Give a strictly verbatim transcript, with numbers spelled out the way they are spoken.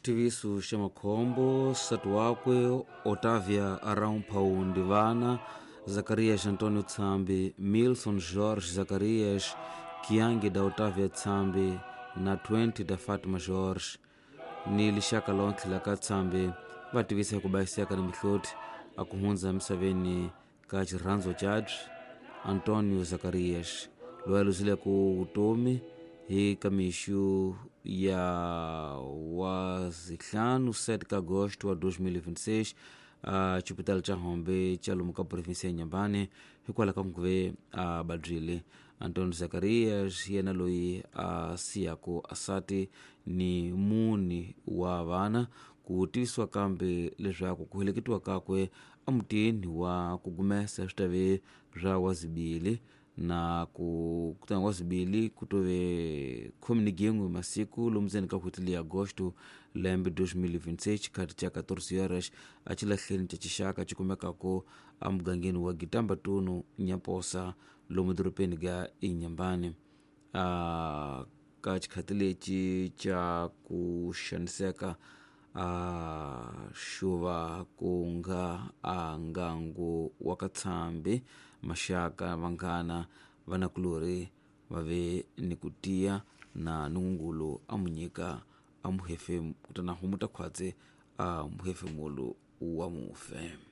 Xitiviso xa makhombo nsati wakwe Otavia Arão Paundi vana Zacarias Antônio Tsambi, Milson Jorge Zacarias, Kiangi da Otavia Tsambi na vinte da Fátima Jorge ni lixaka lontlhe la ka Tsambi va tivisa ku bayiseka ni mihloti a ku hundza emisaveni ka xirhandzo cabyi Antônio Zacarias loyi a luzile ku vutomi hi kamixu ya wa zihlanu sete ka agosto wa dois mil e vinte e seis a xipitali xa Hombe xa lomu ka provinsi ya Inhambane hikwalaho ka nguve a vabyile. Antônio Zacarias yena loyi a siyaku asati ni mune wa vana ku tivisiwa kambe leswaku ku heleketiwa kakwe emutini wa ku gumesa swi ta ve swa wazibili na ku kutani wazibili ku tove khume ni gin'we masiku lomu ndzeni ka n'hweti leyi agosto lembe dois mil e vinte e seis xikhati xa quatorze horas a xilahleni xa xixaka xi kumekaka emugangeni wa Gitamba-Tunu Nyaposa lomu dorobeni ga Inhambane. A ka xikhati lexi xa ku xaniseka a xuva ku nga a ngangu wa ka Tsambi maxaka vanghana vanakulorhi va ve ni ku tiya na nungungulu a mu nyika a muhefemu kutani a humuta khwatsi a muhefemulo wa mufe.